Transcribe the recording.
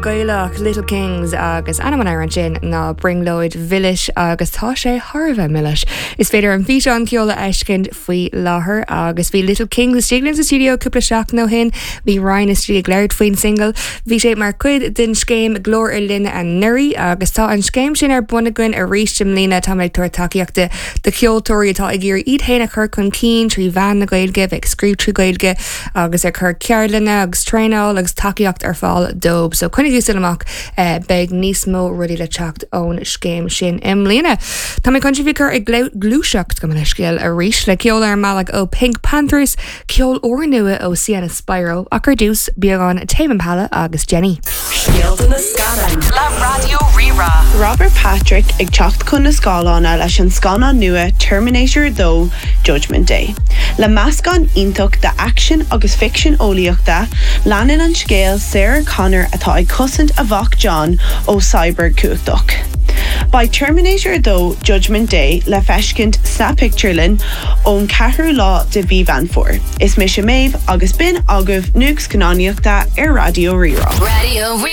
Gaelach, Little Kings agus ainm an amhráin sin ná Brionglóid Mhilis agus tá sé thar a bheith milis. Is féidir an físeán ceoil a fheiscint faoi láthair agus bhí Little Kings istigh linn sa stiúideo cúpla seachtain ó shin. Bhí Ryan istigh ag labhairt faoin single. Bhí sé mar chuid den scéim Glór ar Line anuraidh agus tá an scéim sin ar bun againn arís i mbliana. Táimid ag tabhairt tacaíochta do cheoltóirí atá ag iarraidh iad féin a chur chun cinn trí mheán na Gaeilge, bheith ag scríobh trí Ghaeilge agus ag cur ceardlanna agus traenáil agus tacaíocht ar fáil dóibh. So coinnigí súil amach, beidh níos mó rudaí le teacht ón scéim sin i mbliana. Tá mé chun sibh a chur ag gluaiseacht gabh mo leithscéal arís le ceol ar an mbealach ó PinkPantheress, ceol úrnua ó Sienna Spiro ach ar dtús, beagán Tame Impala agus Jenny. Scéalta na Scannán le Raidió Rí-Rá. Robert Patrick ag teacht chun na scáileáin leis an scannán nua Terminator 2, Judgment Day. Le meascán iontach d'aicsean agus ficsean eolaíochta, leanann an scéal Sarah Connor atá ag cosaint a mhac John ó cyborg cumhachtach. Beidh Terminator 2, Judgment Day le feiscint sna pictiúrlanna ón 4ú lá de mhí Mheán Fómhair. Is mise Méabh agus b'in agaibh nuacht scannánaíochta ar Raidió Rí-Rá.